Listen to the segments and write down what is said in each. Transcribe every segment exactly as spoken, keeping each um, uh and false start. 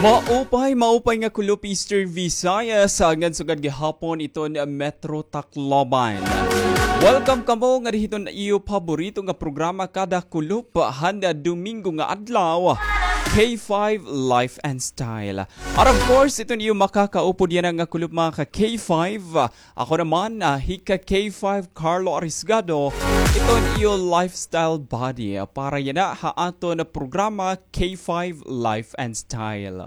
Maupay, maupay nga kulop Eastern Visayas, ngan sugad gihapon iton Metro Tacloban. Welcome kamo ngadi hiton iyo paborito nga programa kada kulop han Domingo nga adlaw, K five Life and Style. And of course, iton iyo makakaupod yana nga kulop, mga ka K five, ako naman, ah, hi ka K five Carlo Arisgado, iton iyo lifestyle buddy, ah, para yana ha aton programa K five Life and Style.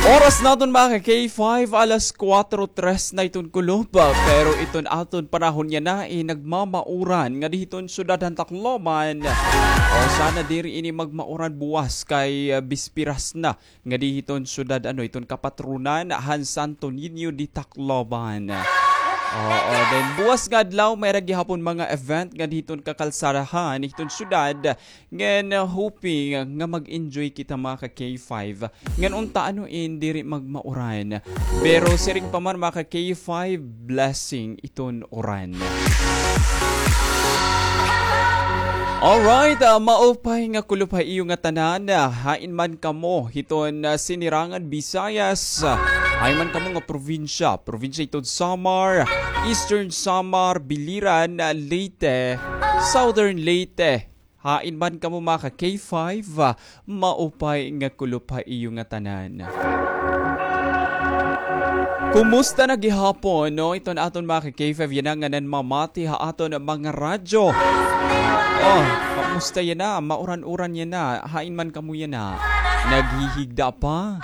Oras naton, mga ka K five, alas kuwatro tres na iton kulop, ah, pero iton aton panahon yana, eh, nagmamauran ngadi hiton syudad han Tacloban. O, sana diri ini magmauran buwas kay, ah, bispiras na ngadi hiton syudad, ano, iton kapatronan han Santo Niño de Tacloban. Oo, then buwas nga adlaw, may-ada gihapon mga event ngadi hiton kakalsadahan hiton syudad. Ngan, uh, hoping nga mag-enjoy kita, mga ka K five. Ngan unta, ano, in diri magmauran. Pero siring pa man, mga ka K five, blessing iton uran. Alright, ah, maupay nga kulop ha iyo ngatanan, ah, hain man kamo hiton, ah, Sinirangan Visayas, ah, hain man kamo nga probinsya, probinsya hiton Samar, Eastern Samar, Biliran, ah, Leyte, Southern Leyte, hain man kamo, mga ka K five, ah, maupay nga kulop ha iyo ngatanan. Kumusta na gihapon, no? Iton aton mga ka K five yana nga nanmamati ha aton mga radyo. Oh, kumusta yana? Mauran-uran yana. Hain man kamo yana? Naghihigda pa?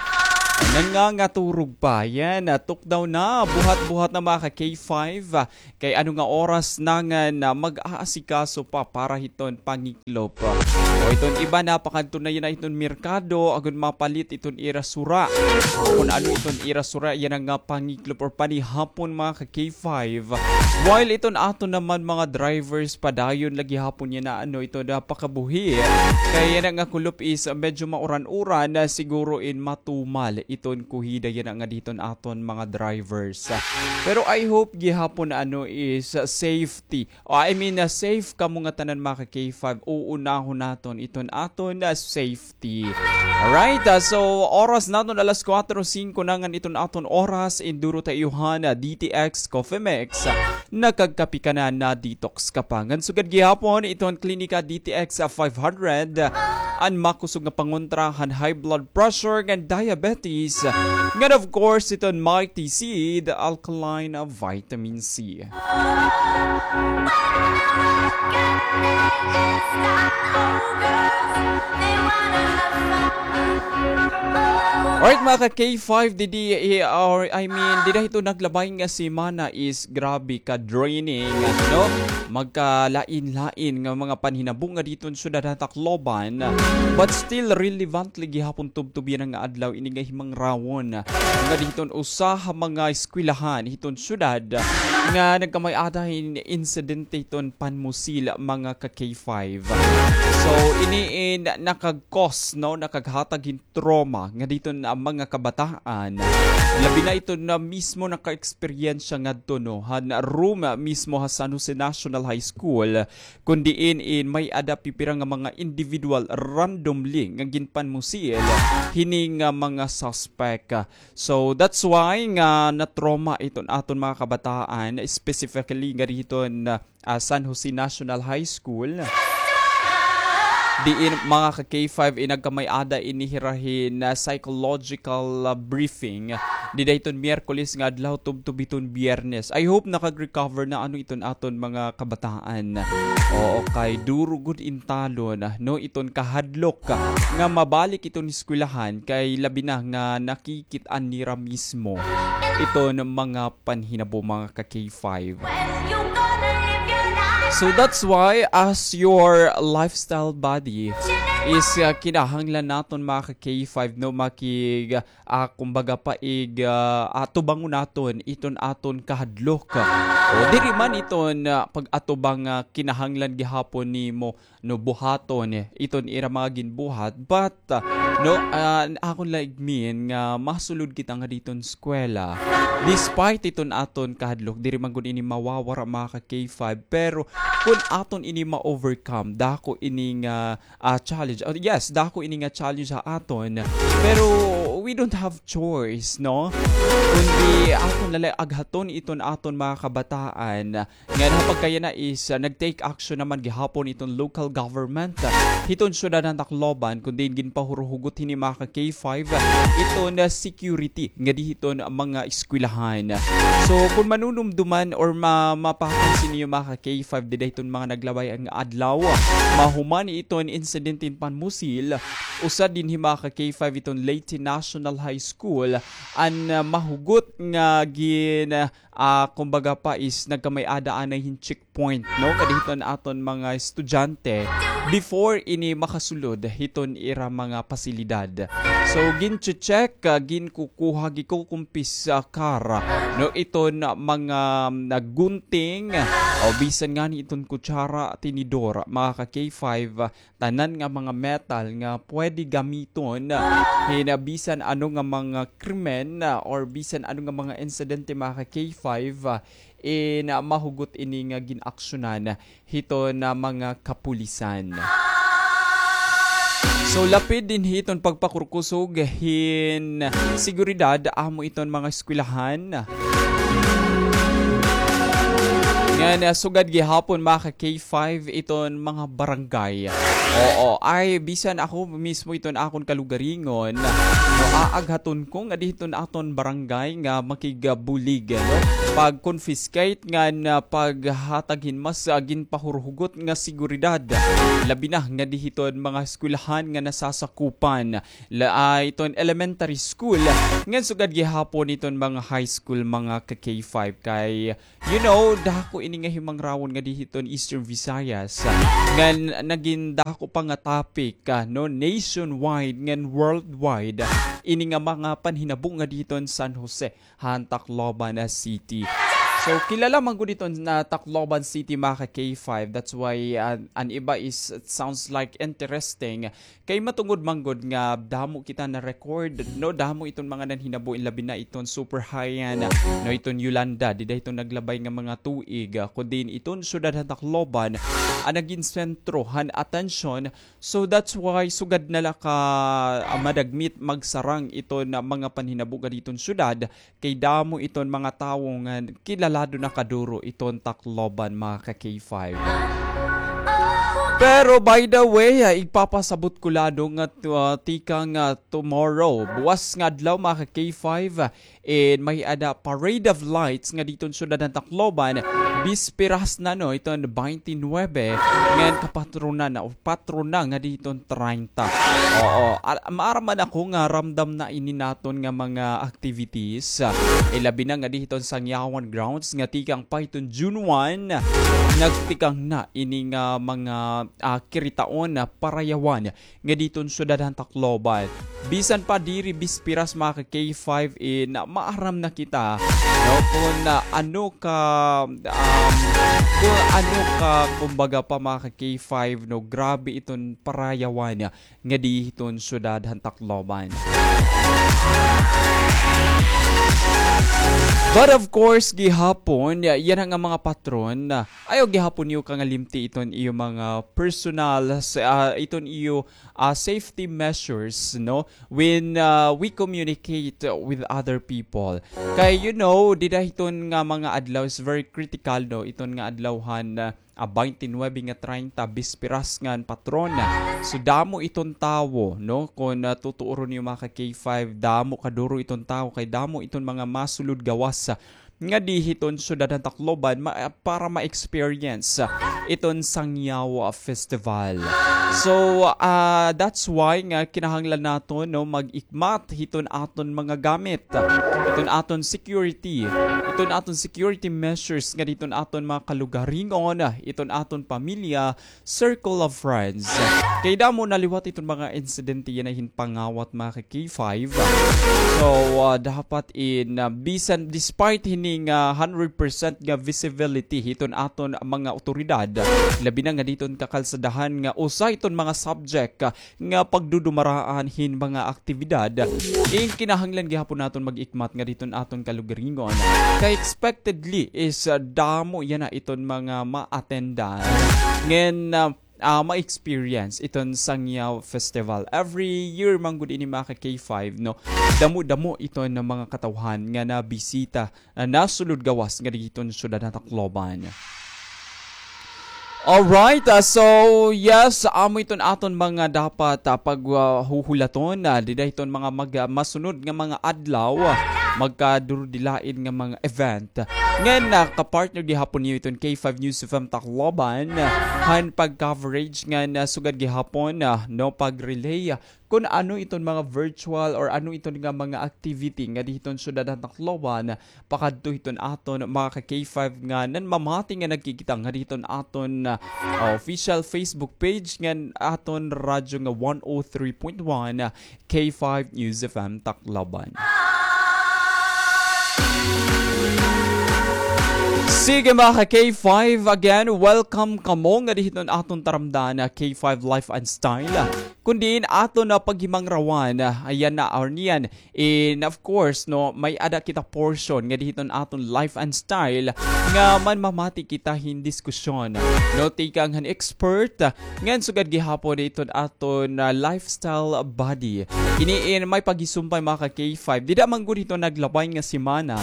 Nangangaturog pa? Yana, tukdaw na. Buhat-buhat na, mga ka K five. Kay ano nga oras na nga na mag-aasikaso pa para hiton pangiklop. O iton iba napakadto na yana hiton merkado, agon mapalit iton ira sura. Kon ano iton ira sura, yana nga pangiklop or panihapon, mga ka K five. While iton aton naman mga drivers, padayon la gihapon yana, ano, iton napakabuhi. Kay yana nga kulop is medyo mauran-uran, na siguro in matumal iton kuhida yana ngadi hiton aton mga drivers. Pero I hope gihapon, ano, is, uh, safety. O, I mean, uh, safe kamo ngatanan, mga ka K five. Uunahon naton iton aton, uh, safety. Alright, uh, so oras naton alas kuwatro singko na ngan iton aton oras, induro ta iyo han, uh, D T X Coffee Mix. Uh, nakagkape ka na, na-detox ka pa. Ngan sugad gihapon iton Klinika D T X, uh, five hundred. Uh, an makusog nga pangontra han high blood pressure ngan diabetes. Ngan of course, iton Mighty Seed, alkaline vitamin C. Alright, mga ka K five, didi, eh, or, I mean, dida hito naglabay nga semana is grabe ka draining, no? Magkalain-lain nga mga panhinabo ngadi hiton syudad ha Tacloban, but still relevantly gihapon tubtob yana nga adlaw ini nga himangraygon ngadi hiton usa ha mga eskwelahan hiton syudad nga nagkamay-ada hin insidente hiton panmusil, mga ka K five. So, ini in nakag-cause, no, nakaghatag hin trauma ngadi hiton mga kabataan. Labi na iton mismo naka-eksperyensya ngadto, no, han room mismo ha San Jose National High School, kon diin in may-ada pipira nga mga individual randomly nga ginpanmusil hini nga mga suspect. So, that's why nga na-trauma iton aton mga kabataan, specifically ngadi hiton, ah, San Jose National High School. Diin, mga ka K five, in nagkamay-ada ini hira hin, ah, psychological, ah, briefing. Dida hiton Miyerkules nga adlaw tubtob hiton Biyernes. I hope nakag-recover na, ano, iton aton mga kabataan. Oo, kay duro gud in talon, no, iton kahadlok nga mabalik iton eskwelahan kay labi na nga nakikit-an nira mismo iton mga panhinabo, mga ka K five. So that's why, as your lifestyle buddy, is, uh, kinahanglan naton, mga ka K five, no, makig-, ah, kumbaga, paig-, ah, atubangon naton iton aton kahadlok. O, diri man iton, ah, pag-atubang, ah, kinahanglan gihapon nimo, no, buhaton, eh, iton ira mga ginbuhat, but, ah, no, ah, akon la igmin nga masulod kita ngadi hiton eskwela. Despite iton aton kahadlok, diri man gud ini mawawara, mga ka K five, pero kon aton ini ma-overcome, dako ini nga, ah, challenge Uh, yes, dako ini nga challenge ha aton. Pero we don't have choice, no? Kundi aton la la aghaton iton aton mga kabataan. Ngan ha pagkayana is, uh, nag-take action naman gihapon iton local government, uh, hiton syudad han Tacloban, kun diin ginpahuruhugot hini mga ka K five, uh, iton, uh, security ngadi hiton mga eskwelahan. So, kun manunumduman or ma-, mapapansin niyo mga ka K five, dida hiton mga naglabay nga adlaw, mahuman iton insidente hin panmusil, usa dinhi mga ka K five iton Leyte National High School, an, ah, mahugot nga gin-, ah, kumbaga pa is nagkamay-ada anay hin checkpoint, no? Ngadi hiton aton mga estudyante before ini makasulod hiton ira mga pasilidad. So, gin-check, ah, ginkukuha, gikukumpis, ah, kara, no? Iton mga, ah, gunting, o bisan ngani iton kutsara, tinidor, mga ka K five, ah, tanan nga mga metal nga pwede gamiton, ah, hin, ah, bisan ano nga mga krimen, ah, or bisan ano nga mga insidente, mga ka K five, ah, in, ah, mahugot ini nga gin-aksyonan hiton, ah, mga kapulisan. So, lapid dinhi iton pagpakurkusog hin seguridad, amo iton mga eskwelahan. Ngan, ah, sugad gihapon, mga ka K five, iton mga barangay. Oo, ay, bisan ako mismo iton akon kalugaringon, no, aaghaton ko ngadi hiton aton barangay nga makigbulig, no? Pag-confiscate ngan, ah, paghatag hin mas, ah, ginpahuruhugot nga seguridad. Labi na ngadi hiton mga eskwelahan nga nasasakupan. La, ah, iton elementary school. Ngan sugad gihapon iton mga high school, mga ka K five kay, you know, dako ini nga himangrawon ngadi hiton Eastern Visayas. Ngan nagin dako pa nga topic, ah, no, nationwide ngan worldwide. Ini nga mga panhinabo ngadi hiton San Jose han Tacloban, ah, City. So, kilala man gud iton Tacloban City, mga ka K five. That's why, ah, an iba is, it sounds like interesting. Kay matungod man gud nga damo kita na-record, no? Damo iton mga nanhinabo, labi na iton Super Haiyan, no? Iton Yolanda, dida iton naglabay nga mga tuig, ah, kun diin iton syudad han Tacloban an nagin sentro han atensyon. So that's why sugad na la ka, ah, madagmit magsarang iton mga panhinabo ngadi hiton syudad, kay damo iton mga tawo nga kilalado na kaduro iton Tacloban, mga ka K five. Pero by the way, ah, igpapasabot ko ladto nga, ah, tikang, ah, tomorrow, buwas nga adlaw, mga ka K five, ah, in may-ada Parade of Lights ngadi hiton syudad han Tacloban, bisperas na, no, iton twenty-nine, ngan kapatronan na o patrona ngadi hiton treinta. Oo, al-, maaram man ako nga ramdam na ini naton nga mga activities, ah, ilabi na ngadi hiton Sangyawan Grounds nga tikang pa hiton June one, nagtikang na ini nga mga, ah, kiritaon na parayawan ngadi hiton syudad han Tacloban. Bisan pa diri bisperas, mga ka K five, in maaram na kita, no, kun, ah, ano ka, um, kun ano ka, kumbaga pa, mga ka K five, no, grabe iton parayawan ngadi hiton syudad han Tacloban. But of course, gihapon, ya-, yana nga mga patron, ah, ayaw gihapon niyo kangalimti iton iyo mga personal, sa, ah, iton iyo, ah, safety measures, no? When, ah, we communicate with other people. Kay, you know, dida hiton nga mga adlaw is very critical, no? Iton nga adlaw han, ah, ah, twenty-nine nga treinta, bisperas ngan patron. So, damo iton tawo, no? Kun, ah, tutuoron niyo, mga ka K five, damo kaduro iton tawo, kay damo iton mga masulod gawas, ah, ngadi hiton syudad han Tacloban ma-, para ma-experience, ah, iton Sangyaw, ah, Festival. So, ah, that's why nga kinahanglan naton, no, mag-ikmat hiton aton mga gamit, hiton aton security, hiton aton security measures ngadi hiton aton mga kalugaringon, hiton aton pamilya, circle of friends. Kay damo na liwat iton mga insidente yana hin pangawat, mga ka K five. So, ah, dapat in, ah, bisan despite hini nga hundred percent nga visibility hiton aton mga awtoridad, labi na ngadi hiton kakalsadahan nga usa iton mga subject, ah, nga pagdudumaraan hin mga aktibidad, in kinahanglan gihapon naton mag-ikmat ngadi hiton aton kalugaringon. Kay expectedly is, ah, damo yana iton mga ma-attendan. Ngan, ah, ah, ma-experience iton Sangyaw Festival. Every year man gud ini, mga ka K five, no? Damo-damo iton mga katawhan nga nabisita, ah, nasulod gawas nga didto hiton syudad han Tacloban. Alright, ah, so yes, amo iton aton mga dapat, ah, pag, ah, huhulaton, ah, dida hiton mga mag-, ah, masunod nga mga adlaw, ah, magkadurodilain nga mga event. Ngan, ah, ka-partner gihapon niyo iton K five News F M Tacloban, ah, han pag-coverage ngan, ah, sugad gihapon, ah, no, pag-relay, ah, kun ano iton mga virtual or ano iton nga mga activity nga didto hiton syudad han Tacloban, pakadto hiton aton mga ka K five nga nanmamati nga nagkikita nga didto hiton aton, ah, official Facebook page ngan aton radyo nga one oh three point one, ah, K five News F M Tacloban. Sige, mga ka K five, again, welcome kamo nga didto hiton aton taramdan, ah, K five Life and Style. Kun diin aton na paghimangrawan, ah, ayan na, or niyan. And of course, no, may-ada kita portion nga didto hiton aton Life and Style nga manmamati kita hin diskusyon, no, tikang han expert, ah, ngan sugad gihapon didto hiton aton, ah, lifestyle buddy. Ini in may paghisumpay, mga ka K five. Dida man gud hiton naglabay nga semana.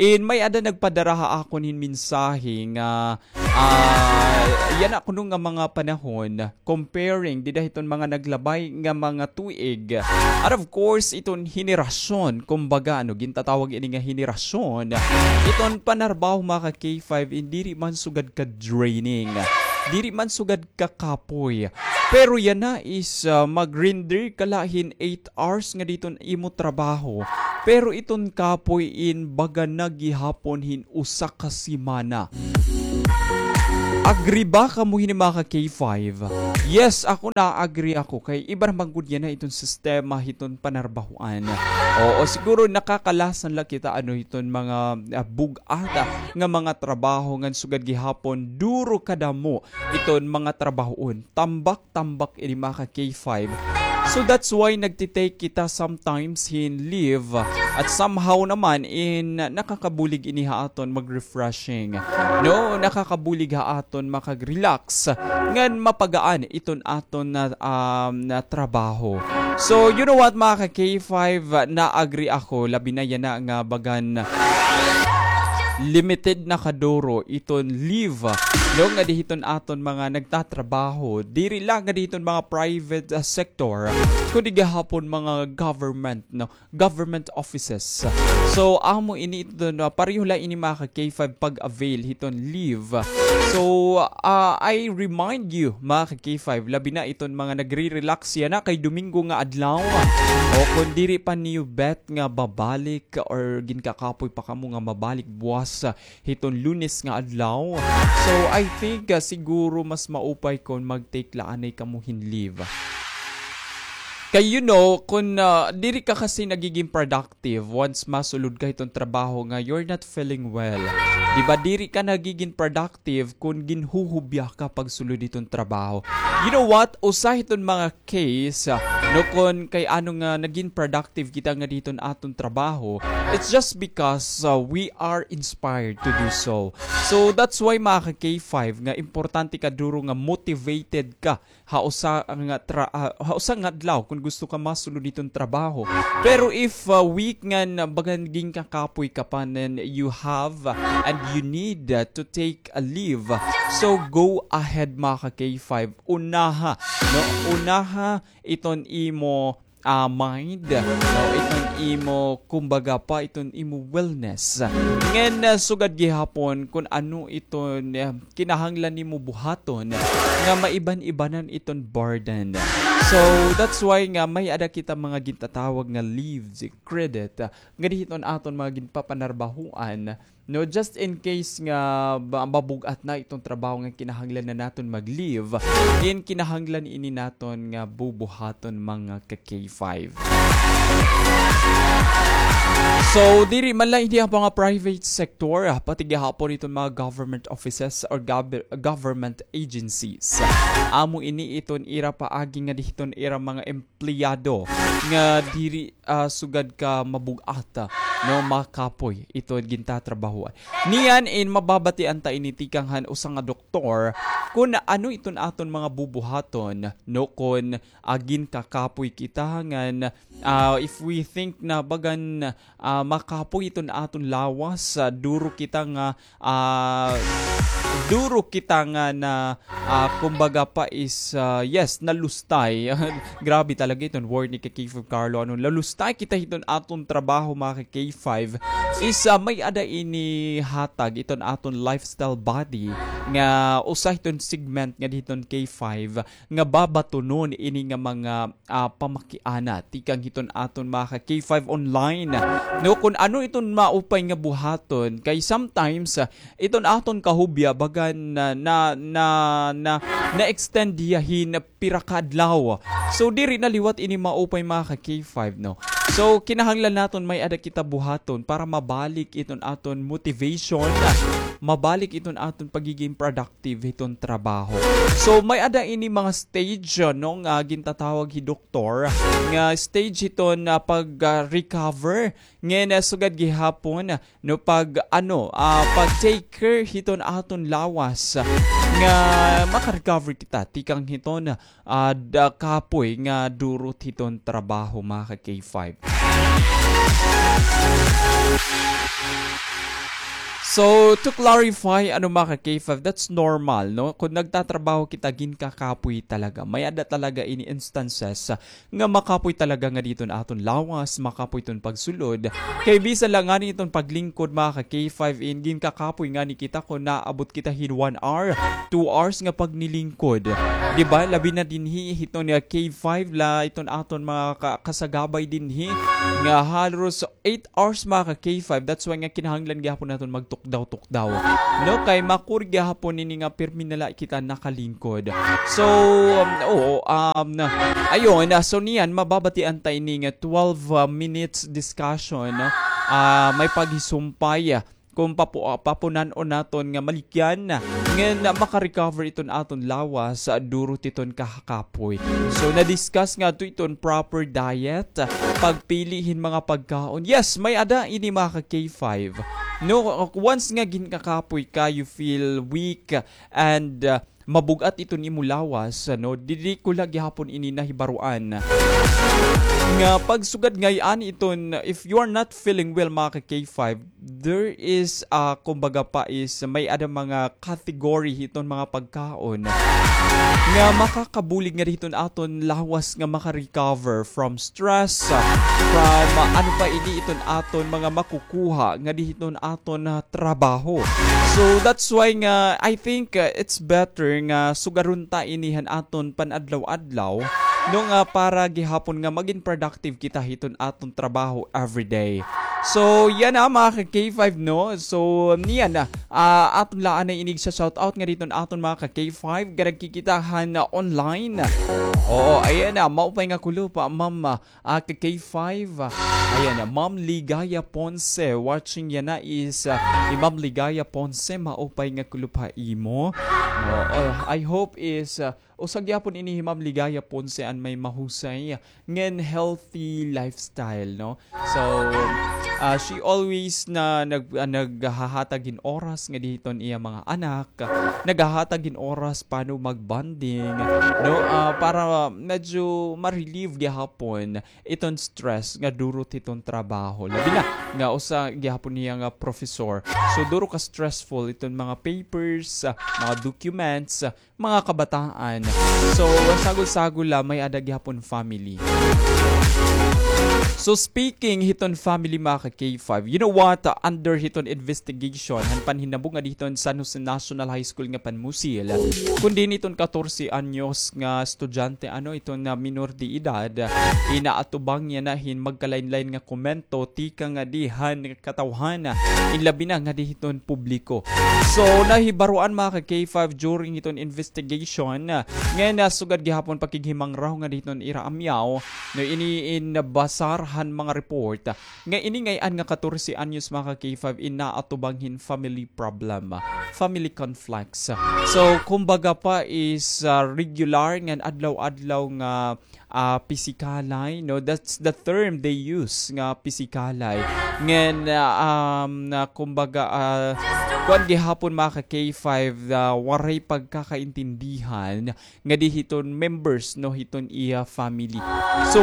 In may-ada nagpadara ha akon hin mensahe nga, ah, yana kuno nga mga panahon, comparing dida hiton mga naglabay nga mga tuig. And of course, iton henerasyon, kumbaga, ano, gintatawag ini nga henerasyon, iton panarbaho, mga ka K five, in diri man sugad ka draining. Diri man sugad kakapoy. Pero yana is, ah, mag-render ka la hin eight hours nga didto hiton imo trabaho. Pero iton kapoy in baga na gihapon hin usa ka semana. Agree ba kamo hini, mga ka K five? Yes, ako, na-agree ako. Kay iba naman gud yana iton sistema hiton panarbahoan. Oo, siguro nakakalasan la kita, ano, hiton mga, ah, bug-at, ah, nga mga trabaho ngan sugad gihapon duro kadamo iton mga trabahoon. Tambak-tambak ini, mga ka K five. So that's why nagti-take kita sometimes hin leave. At somehow naman in nakakabulig ini ha aton mag-refreshing. No, nakakabulig ha aton makag-relax. Ngan mapagaan iton aton na, um, na trabaho. So, you know what, mga ka K five, na-agree ako, labi na yana nga bagan limited na kaduro iton leave, no, nga didto hiton aton mga nagtatrabaho, diri la nga didto hiton mga private, ah, sector, kundi gihapon mga government, no, government offices. So, amo ini iton, no, pareho la ini, mga ka K five, pag-avail hiton leave. So, ah, I remind you, mga ka K five, labi na iton mga nagre-relax yana kay Domingo nga adlaw. O kon diri pa niyo bet nga babalik or ginkakapoy pa kamo nga mabalik buwas, ah, hiton Lunes nga adlaw. So, I think, ah, siguro mas maupay kon mag-take la anay kamo hin leave. Kay, you know, kon, ah, diri ka kasi nagiging productive once masulod ka hiton trabaho nga you're not feeling well. Di ba, diri ka nagiging productive kon ginhuhubya ka pagsulod hiton trabaho. You know what? Usa hiton mga case, ah, no, kon kay ano nga naging productive kita nga didto hiton aton trabaho, it's just because, ah, we are inspired to do so. So, that's why, mga ka K five, nga importante kaduro nga motivated ka ha usa nga tra-, ah, ha usa nga adlaw kon gusto ka masulod hiton trabaho. Pero if, ah, weak ngan bagan ginkakapoy ka pa, then you have, ah, and you need, ah, to take a leave. So, go ahead, mga ka K five. Unaha, no? Unaha iton imo, ah, mind, no? Iton imo, kumbaga pa, iton imo wellness. Ngan, ah, sugad gihapon kon ano iton, ah, kinahanglan nimo buhaton nga maiban-ibanan iton burden. So, that's why nga may-ada kita mga gintatawag nga leaves credit, ah, nga didto hiton aton mga ginpapanarbahoan, no, just in case nga ba-, mabug-at na iton trabaho nga kinahanglan na naton mag-leave, in kinahanglan ini naton nga bubuhaton, mga ka K five. So, diri man la ini ha mga private sector, ah, pati gihapon iton mga government offices or gov-, government agencies. Amo ini iton ira paagi nga dihiton ira mga empleyado nga diri, ah, sugad ka mabug-at, ah, no, makapoy iton gintatrabahoan. Niyan in mababatian ta ini tikang han usa nga doktor kun ano iton aton mga bubuhaton, no, kun, ah, ginkakapoy kita ngan, ah, if we think na bagan, ah, makapoy iton aton lawas, ah, duro kita nga, ah, duro kita nga na, ah, kumbaga pa is, ah, yes, nalustay. Grabe talaga iton word ni ka K five Carlo. Ano, nalustay kita hiton aton trabaho, mga ka K five. Is, ah, may-ada ini hatag iton aton lifestyle body nga usa hiton segment nga dihiton K five nga babatunon ini nga mga, ah, pamakiana tikang hiton aton mga ka K five online. No, kun ano iton maupay nga buhaton, kay sometimes, ah, iton aton kahubya bagan na, na, na, na, na-extend hiya hin pira ka adlaw. So, diri na liwat ini maupay, mga ka K five, no? So, kinahanglan naton may-ada kita buhaton para mabalik iton aton motivation, mabalik iton aton pagiging productive hiton trabaho. So, may-ada ini mga stage, ah, no, nga gintatawag hi doktor nga stage hiton, ah, pag, ah, recover. Ngan, ah, sugad gihapon, no, pag, ano, ah, pag take care hiton aton lawas nga maka-recover kita tikang hiton, ah, da kapoy nga durot hiton trabaho, mga ka K five. So, to clarify, ano, mga ka K five, that's normal, no? Kun nagtatrabaho kita, ginkakapoy talaga. May-ada talaga ini instances, ah, nga makapoy talaga nga diton aton lawas, makapoy iton pagsulod. Kay bisan la ngani iton paglingkod, mga ka K five, in ginkakapoy ngani kita kun naabot kita hin one hour, two hours nga pagnilingkod. Di ba? Labi na dinhi hiton nga K five la, iton aton mga ka-, kasagabay dinhi nga halos eight hours, mga ka K five. That's why nga kinahanglan gihapon naton magtukdaw-tukdaw. No, kay makuri gihapon ini nga pirmi na la kita nakalingkod. So, um, oo, um, ayun, ah, so niyan, mababatian ta ini nga twelve, ah, minutes discussion, no? Ah, may paghisumpay, ah, kung papu-, ah, papunan-on naton nga malikyan, ngan maka-recover iton aton lawas, ah, durot hiton kahakapoy. So, na-discuss ngadto iton proper diet, ah, pagpili hin mga pagkaon. Yes, may-ada ini, mga ka K five. No, once nga ginkakapoy ka, you feel weak and, uh, mabug-at iton imo lawas, ano, diri ko la gihapon ini nahibaroan nga pagsugad ngay-an iton, if you are not feeling well, mga ka K five, there is, uh, kumbaga pa is may-ada mga category hiton mga pagkaon nga makakabulig nga dihiton aton lawas nga maka-recover from stress, ah, from, ah, ano pa ini iton aton mga makukuha nga dihiton aton, ah, trabaho. So, that's why nga, I think, ah, it's better nga sugaron ta ini han aton pan-adlaw-adlaw, no, nga para gihapon nga magin productive kita hiton aton trabaho everyday. So, yana, mga ka K five, no? So, niyan na, ah, aton la anay inig sa shout out nga diton aton mga ka K five, nga nagkikita han, ah, online. Oo, ayan na, maupay nga kulop, ah, ma'am, ah, ah, ka K five. Ayan na, Ma'am Ligaya Ponce, watching yana is, ah, hi Ma'am Ligaya Ponce, maupay nga kulop ha imo. Oo, I hope is, ah, usa gihapon ini hi Ma'am Ligaya Ponce an may mahusay ngan healthy lifestyle, no? So, ah, she always na nag-, ah, naghahatag hin oras nga dihiton iya mga anak, naghahatag hin oras pano mag-bonding, no? Ah, para medyo ma-relieve gihapon iton stress nga durot hiton trabaho. Labi na nga usa gihapon niya nga professor. So, duro ka stressful iton mga papers, ah, mga documents, ah, mga kabataan. So, sagol-sagol la, may-ada gihapon family. So, speaking hiton family, mga ka K five, you know what? Under hiton investigation han panhinabo nga dihiton San Jose National High School nga panmusil, kun diin iton katorse anyos nga estudyante, ano, iton na minor de edad, inaatubang yana hin magkalain-lain nga komento tikang nga dihan katawhan, in labi na nga dihiton publiko. So, nahibaroan, mga ka K five, during hiton investigation, ngan, ah, sugad gihapon pakighimangraw nga dihiton ira amyaw, no, ini in basar han mga report, ah, nga ini ngay-an nga katorse anyos, mga ka-K five, in naatubang hin family problem, ah, family conflicts. So, kumbaga pa is, ah, regular ngan adlaw-adlaw nga, ah, pisikalay, no? That's the term they use, nga pisikalay. Ngan, ah, um, na kumbaga, ah, kuan gihapon, mga ka-K five, ah, waray pagkakaintindihan ngadi hiton members, no, hiton iya family. So,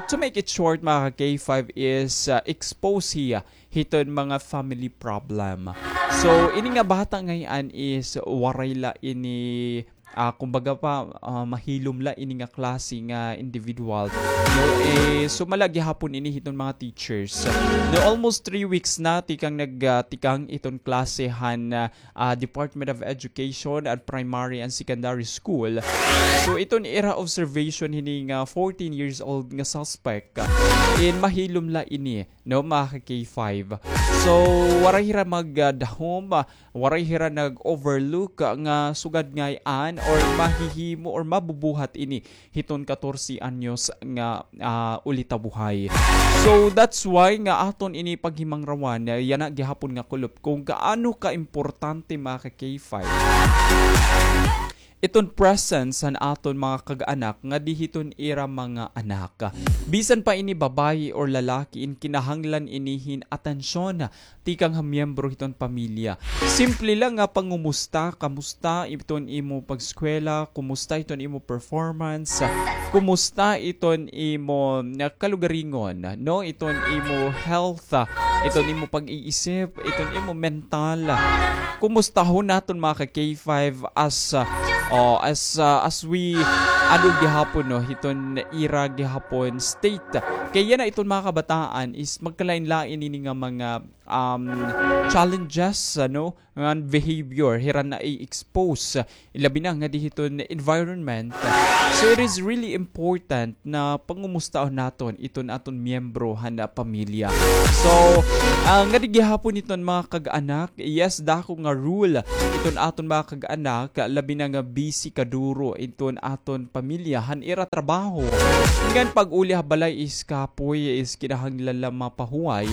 to make it short, mga ka-K five, is, ah, expose hiya hiton mga family problem. So, ini nga bata ngay-an is waray la ini, ah, kumbaga pa, ah, mahilom la ini nga klase nga individual. No, eh, sumala gihapon ini hiton mga teachers. No, almost three weeks na tikang nag, ah, tikang iton klase han, ah, ah, Department of Education at Primary and Secondary School. So, iton ira observation hini nga fourteen years old nga suspect, ah, in mahilom la ini, no, mga ka-K five. So, waray hira mag, ah, dahom, ah, waray hira nag-overlook, ah, nga sugad ngay-an or mahihimo or mabubuhat ini hiton katorse anyos nga, ah, ulitabuhay. So, that's why nga aton ini paghimangrawan, ah, yana gihapon nga kulop kung gaano kaimportante, mga ka-K five, iton presence han aton mga kag-anak ngadi hiton ira mga anak. Bisan pa ini babayi or lalaki, in kinahanglan ini hin atensyon tikang ha miyembro hiton pamilya. Simple la nga pangumusta, kamusta iton imo pag-eskwela, kumusta iton imo performance, kumusta iton imo, ah, kalugaringon, no? Iton imo health, ah, iton imo pag-iisip, iton imo mental. Kumustahon naton, mga ka-K five, as, ah, oh, as, ah, as we, ano gihapon, no? Hiton ira gihapon state. Kay yana iton mga kabataan is magkalain-lain ini nga mga um, challenges, ano, ngan behavior, hira na i-expose, ilabi na ngadi hiton environment. So, it is really important na pangumustahon naton iton aton miyembro han pamilya. So, ah, ngadi gihapon iton mga kag-anak, yes, dako nga role iton aton mga kag-anak, labi na nga busy kaduro iton aton pamilya han ira trabaho. Ngan pag-uli ha balay is kapoy is kinahanglan la mapahuway.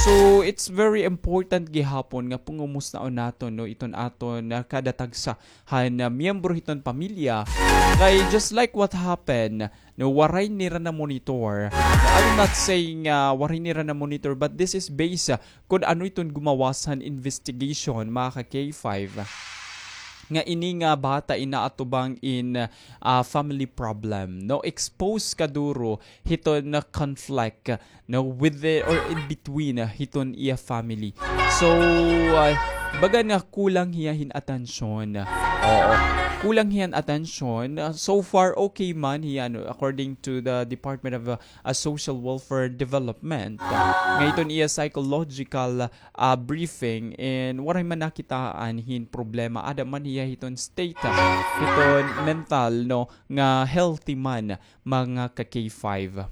So, it's very important gihapon nga pangumustaon naton, no, iton aton, ah, kada tagsa han, ah, miyembro hiton pamilya. Kay just like what happened, no, waray nira na-monitor. I'm not saying, ah, waray nira na-monitor, but this is based, ah, kun ano iton gumawas han investigation, mga ka-K five, nga ini nga bata in naatubang in, ah, family problem, no? Expose kaduro hiton conflict, no, with the, or in between, ah, hiton iya family. So, ah, baga nga kulang hiya hin atensyon. Oo. Kulang hiya hin atensyon. Ah, so far, okay man hiya, no, according to the Department of, ah, ah, Social Welfare Development. Ah, nga iton iya psychological, ah, briefing, and waray man nakitaan hin problema. Ada man hiya hiton state, ah, hiton mental, no, nga healthy man, mga ka-K five.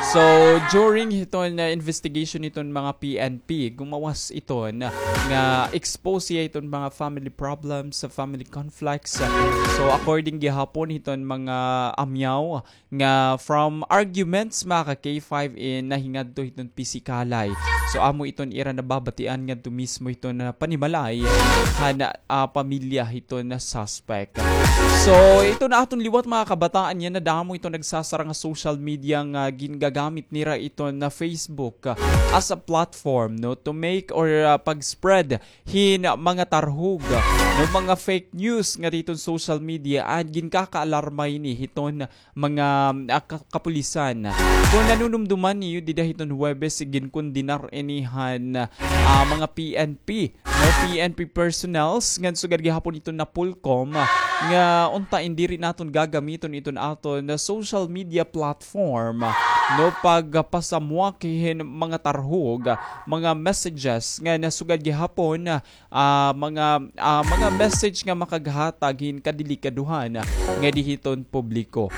So, during hiton, ah, investigation hiton mga P N P, gumawas iton nga expose hiya hiton mga family problems, family conflicts. So, according gihapon hiton mga amyaw, nga from arguments, mga ka-K five, in nahingadto hiton pisikalay. So, amo iton ira nababatian ngadto mismo hiton panimalay han, ah, pamilya hiton suspect. So, iton aton liwat, mga kabataan, yana damo iton nagsasara nga social media nga gingagamit nira iton Facebook, ah, as a platform, no, to make or, ah, pag-spread hin mga tarhog, no, mga fake news ngadi hiton social media, and ginkakaalarma ini hiton mga, ah, ka-, kapulisan. Kon nanunumduman niyo, dida hiton Huwebes, ginkondenar ini han, ah, mga P N P, no, P N P personnels, ngan sugad gihapon iton NAPOLCOM, nga unta in diri naton gagamiton iton aton social media platform, no, pagpasamwak hin mga tarhog, mga messages, ngan sugad gihapon, ah, mga, ah, mga message nga makaghatag hin kadelikadohan, ah, nga di hiton publiko.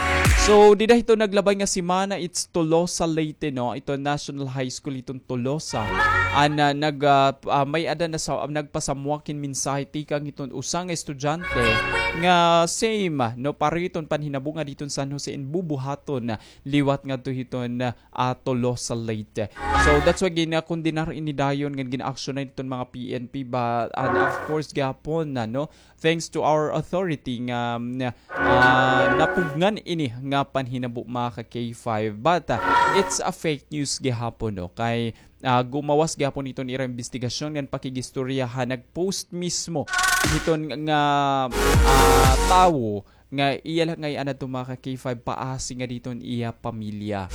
So, dida hiton naglabay nga semana, it's Tolosa, Leyte, no? Iton National High School hiton Tolosa. An, ah, nag, ah, ah, may-ada na sa, nagpasamwak hin mensahe tikang hiton usa nga estudyante nga same, no, pareho hiton panhinabo nga dida hiton San Jose in bubuhaton liwat ngadto hiton, ah, Tolosa, Leyte. So, that's why ginakondenar ini dayon ngan gina-aksyonan hiton mga P N P ba, and of course, gihapon na, no? Thanks to our authority nga, ah, napugngan ini nga panhinabo, mga ka K five. But, ah, it's a fake news gihapon, no? Kay, ah, gumawas gihapon hiton ira imbestigasyon ngan pakigistorya ha nag-post mismo hiton nga, ah, tawo nga iya la ngay-an adto, mga ka K five, paasi nga dida hiton iya pamilya.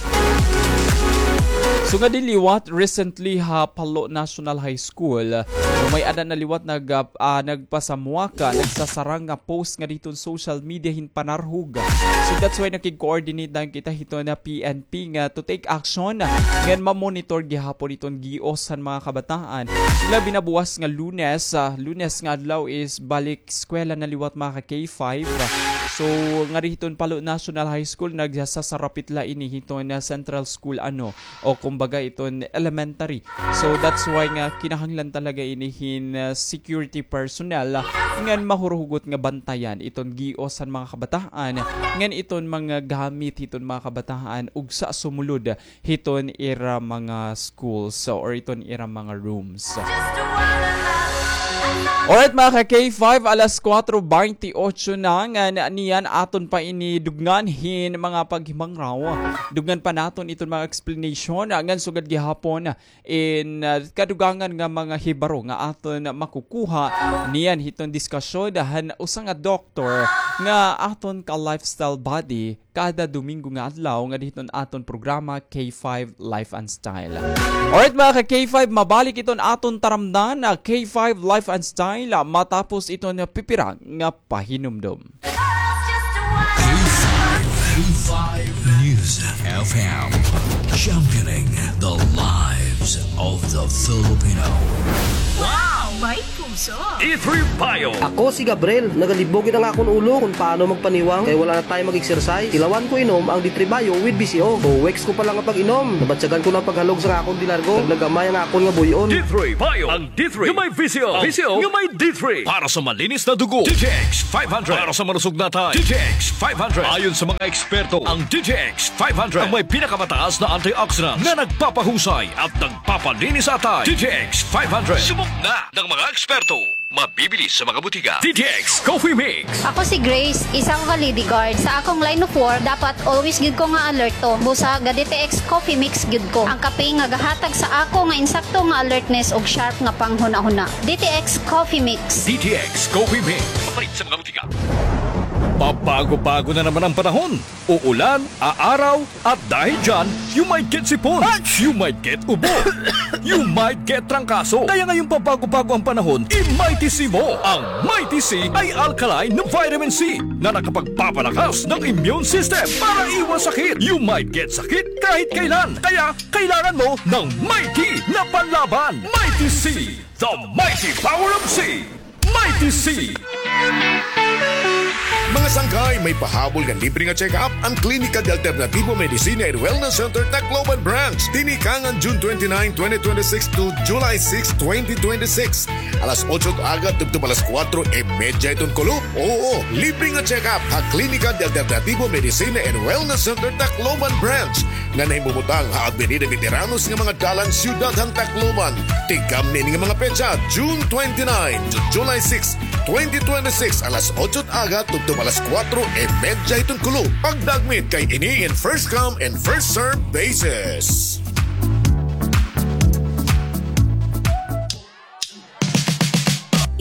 So, ngadi liwat, recently ha Palo National High School, may-ada na liwat nag-, ah, nagpasamwaka, nagsasarang nga post nga dida hiton social media hin panarhog. So, that's why nakig-coordinate dayon kita hiton P N P nga to take action ngan ma-monitor gihapon hiton gios han mga kabataan. Labi na buwas nga Lunes, ah, Lunes nga adlaw is balik eskwela na liwat, mga ka K five. So, ngadi hiton Palo National High School, nagsasarapit la ini hiton Central School, ano, o kumbaga iton elementary. So, that's why nga kinahanglan talaga ini hin, ah, security personnel, ah, ngan mahuruhugot nga bantayan iton gios han mga kabataan, ngan iton mga gamit hiton mga kabataan, ug sa sumulod hiton ira mga schools, so, or iton ira mga rooms. Alright, mga ka K five, alas kuwatro bente otso na, ngan niyan aton pa ini dugngan hin mga paghimangraw. Dugngan pa naton iton mga explanation, ngan sugad gihapon in, ah, kadugangan nga mga hibaro nga aton makukuha niyan hiton diskasyon han usa nga doktor nga aton ka-lifestyle buddy kada Domingo nga adlaw ngadi hiton aton programa, K five Life and Style. Alright, mga ka K five, mabalik iton aton taramdan na K five Life and Style, ah, matapos iton pipira nga pahinumdom. K five News F M, championing the lives of the Filipino. Wow! May puso! D three Bio. Ako si Gabriel. Nagalibog gid an akon ulo kon paano magpaniwang kay wala na tayo mag-exercise. Tilawan ko inom ang D three Bio with V C O. Two weeks ko pa lang nga pag-inom, nabatyagan ko na an paghalog sa akon dilargo. Naglagamay ang akon nga buy-on. D three Bio. Ang D three nga may V C O. V C O nga may D three. Para sa malinis na dugo, D T X five hundred. Para sa malusog na atay, D T X five hundred. Ayon sa mga eksperto, ang D T X five hundred ang may pinakamataas na antioxidant na nagpapahusay at nagpapalinis sa atay. D T X five hundred. Subok na ng mga eksperto. Mabibili sa mga butika. D T X Coffee Mix. Ako si Grace, isa ka ka-Lady Guard. Sa akong line of work, dapat always gyud ko nga alerto. Busa ga D T X Coffee Mix gyud ko. Ang kape nga gahatag sa ako nga insakto nga alertness ug sharp nga panghunahuna. D T X Coffee Mix. D T X Coffee Mix. Mapalit sa mga butika. Pabago-bago na naman ang panahon. Uulan, aaraw, at dahil dyan, you might get sipon. You might get ubo. You might get trangkaso. Kaya ngayong pabago-bago ang panahon, i-Mighty C mo. Ang Mighty C ay alkaline na vitamin C na nakapagpapalakas ng immune system para iwas sakit. You might get sakit kahit kailan. Kaya kailangan mo ng Mighty na panlaban. Mighty C, the mighty power of C. Mighty C. Mga sangkay, may pahabol nga libre nga check-up an Klinika de Alternativo Medicina and Wellness Center Tacloban Branch. Tinikangan June twenty-nine, twenty twenty-six to July six, twenty twenty-six. Alas otso it aga tubtob alas kuwatro y medya iton kulop. Oo, libre nga check-up ha Klinika de Alternativo Medicina and Wellness Center Tacloban Branch. nga nahimumutang ha Avenida Veteranos nga mga dalan, Siyudad han Tacloban. Tikang niini nga mga petsa, June twenty-nine to July six, twenty twenty-six, alas otso it aga tubtob alas kuwatro y medya hiton kulop. Pagdagmit kay ini in first come and first serve basis.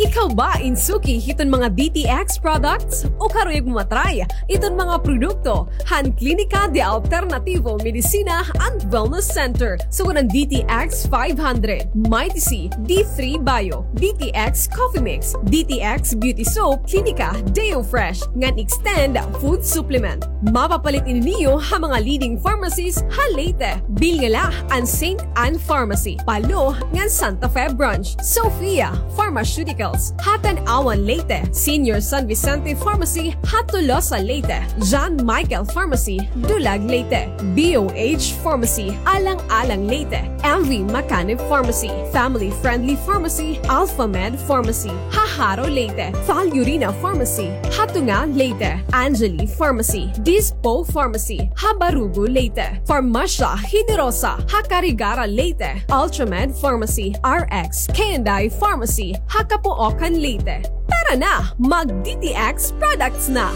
Ikaw ba in suki hiton mga D T X products? O karuyag mo ma-try iton mga produkto han Klinika de Alternativo Medicina and Wellness Center? Sugad an D T X five hundred, Mighty C, D three Bio, D T X Coffee Mix, D T X Beauty Soap, Klinika Deo Fresh, ngan Extend Food Supplement. Mapapalit ini niyo ha mga leading pharmacies ha Leyte. Bilngala an Saint Anne Pharmacy, Palo, ngan Santa Fe Branch. Sophia Pharmaceuticals, Products, ha Tanauan, Leyte, Senior San Vicente Pharmacy, ha Tolosa, Leyte, John Michael Pharmacy, Dulag, Leyte, B O H Pharmacy, Alang-alang, Leyte, M V Macanib Pharmacy, Family Friendly Pharmacy, Alpha Med Pharmacy, ha Jaro, Leyte, Falurina Pharmacy, ha Tunga, Leyte, Angeli Pharmacy, Dispo Pharmacy, ha Barugo, Leyte, Farmasya Generosa, ha Carigara, Leyte, Ultramed Pharmacy, R X K and I Pharmacy, ha Capoocan, Leyte. Tara na, mag D T X products na!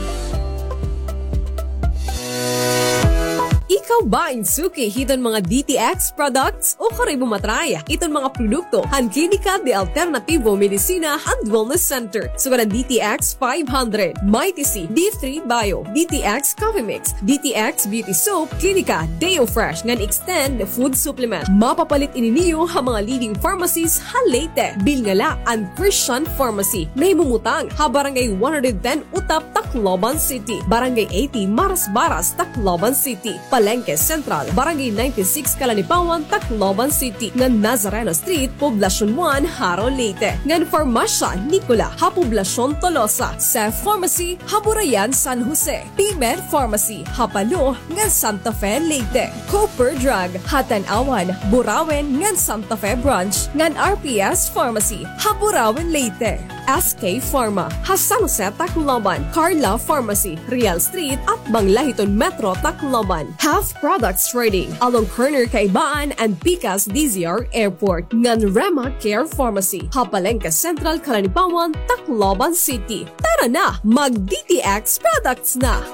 Ikaw ba in suki hiton mga D T X products? O kari mo matry iton mga produkto han Klinika de Alternativo Medicina and Wellness Center, sugad han D T X five hundred, Mighty C, D three Bio, D T X Coffee Mix, D T X Beauty Soap, Klinika Deo Fresh ngan Extend Food Supplement. Mapapalit ini niyo ha mga leading pharmacies ha Leyte. Bilngala an Christian Pharmacy, nahimumutang ha Barangay one hundred ten Utap, Tacloban City, Barangay eighty Marasbaras, Tacloban City, Palengke Central, Barangay ninety-six Kalanipawan, Tacloban City, ngan Nazareno Street, Poblacion one, Jaro, Leyte, ngan Farmasya Nicola ha Poblacion Tolosa, Seth Pharmacy ha Burayan, San Jose, P-Med Pharmacy ha Palo ngan Santa Fe, Leyte, Cooper Drug ha Tanauan, Burauen ngan Santa Fe Branch, ngan R P S Pharmacy ha Burauen, Leyte. S K Pharma ha San Jose, Tacloban, Carla Pharmacy, Real Street, atbang la hiton Metro Tacloban, Health Products Trading along corner Kaibaan and Pikas D Z R Airport, ngan Rema Care Pharmacy ha Palengke Central, Kalanipawan, Tacloban City. Tara na, mag D T X products na!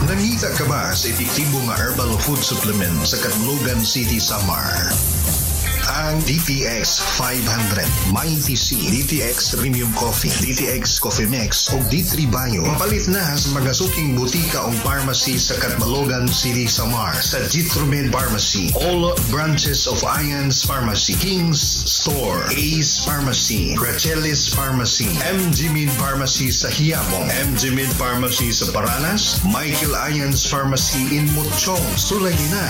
Nangita ka ba sa epektibo nga herbal food supplement sa Catbalogan City, Samar? Ang D T X five hundred, Mighty C, D T X Premium Coffee, D T X Coffee Mix, ug D three Bio. Mapalit na sa mga suking butika ug pharmacy sa Catbalogan City, Samar, sa Jitromed Pharmacy, all branches of Ian's Pharmacy, King's Store, Ace Pharmacy, Rachelis Pharmacy, M G Med Pharmacy sa Quiapo, M G Med Pharmacy sa Paranas, Michael Ian's Pharmacy in Mochong. Sulayi na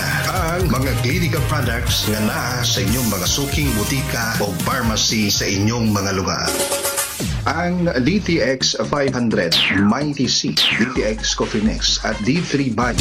ang mga Clinica products nga naa sa inyong mga suking butika o pharmacy sa inyong mga lugar. Ang D T X five hundred, Mighty C, D T X Coffee Mix, at D three Bio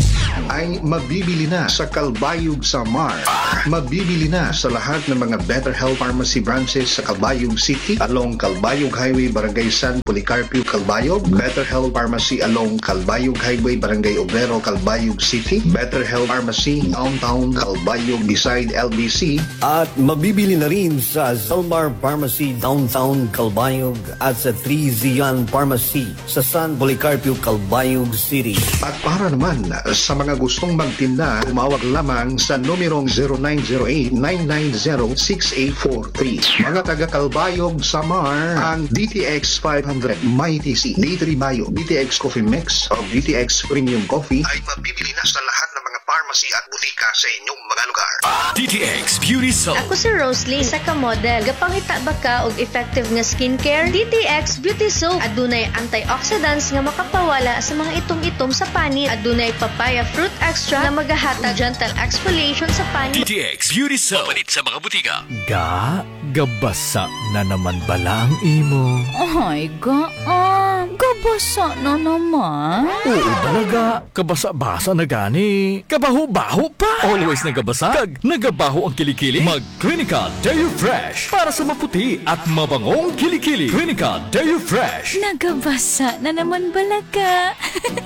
ay mabibili na sa Calbayog, Samar. Mabibili na sa lahat ng mga Better Health Pharmacy branches sa Calbayog City, along Calbayog Highway, Barangay San Policarpio, Calbayog, Better Health Pharmacy along Calbayog Highway, Barangay Obrero, Calbayog City, Better Health Pharmacy Downtown Calbayog beside L B C, at mabibili na rin sa Zalmar Pharmacy Downtown Calbayog at sa Three Zion Pharmacy sa San Policarpio, Calbayog City. At para naman sa mga gustong magtinda, tumawag lamang sa numerong zero nine zero eight, nine nine zero, six eight four three. Mga taga Calbayog, Samar, ang D T X five hundred, Mighty C, D three Bio, D T X Coffee Mix, o D T X Premium Coffee ay mabibili na sa lahat ng mga pharmacy at butika sa inyong mga lugar. D T X Beauty Soap. Ako si Rosalie, isa ka model. Gapangita ba ka og effective nga skincare? D T X Beauty Soap. Adunay antioxidants nga makapawala sa mga itom-itom sa panit. Adunay papaya fruit extract nga magahatag gentle exfoliation sa panit. D T X Beauty Soap. Mapalit sa mga butika. Ga, gabasa na naman bala ang imo? Ay, ga, ah, gabasa na naman. Oo, bala, ga. Kabasa-basa na gani. Kabaho-baho pa. Always nagabasa. Kag nagabaho ang kilikili. Mag Clinica Deo Fresh para sa maputi at mabangong kilikili. Clinica Deo Fresh. Nagabasa na naman bala ka.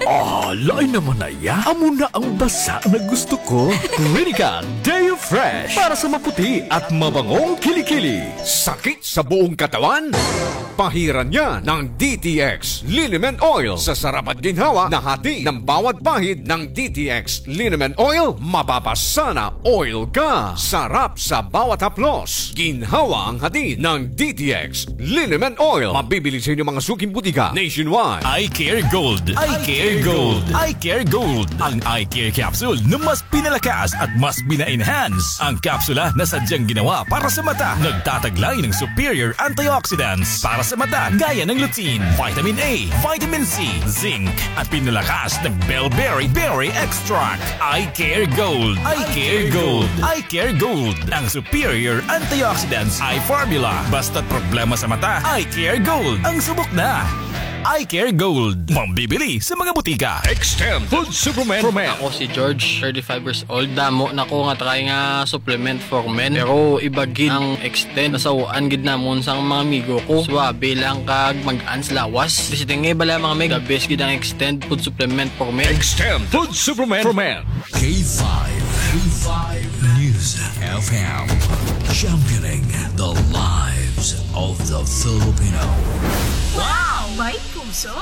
Ah, lain naman na iya. Amo na ang basa na gusto ko. Clinica Deo Fresh para sa maputi at mabangong kilikili. Sakit sa buong katawan? Pahiran niya ng D T X Liniment Oil. Sa sarap at ginhawa na hatid ng bawat pahid ng D T X Liniment Oil, mapapasana oil ka. Sarap sa bawat haplos. Ginhawa ang hatid ng D T X Liniment Oil. Mabibili sa inyong mga suking butika nationwide. Eye Care Gold. Eye Care Gold. Eye Care Gold. Ang eye care capsule na mas pinalakas at mas pina-enhance. Ang kapsula na sadyang ginawa para sa mata, nagtataglay ng superior antioxidants para sa mata, gaya ng lutein, vitamin A, vitamin C, zinc, at pinalakas ng bellberry berry extract. Eye Care Gold. Eye Care Gold. Eye Care Gold. Ang superior antioxidants eye formula. Basta't problema sa mata, Eye Care Gold ang subok na. Eye Care Gold. Mabibili sa mga butika. Extend Food Supplement. Ako si George, thirty-five years old. Damo na ko nga try nga supplement for men. Pero iba gid ang Extend. Nasaw-an gid namon sang mga amigo ko. Suwabe lang kag mag-ans lawas. Visiting nga bala mga mig. The best gid ang Extend Food Supplement for Men. Extend Food Supplement for Men. K five, K five News F M. Championing the lives of the Filipino. Wow! May puso!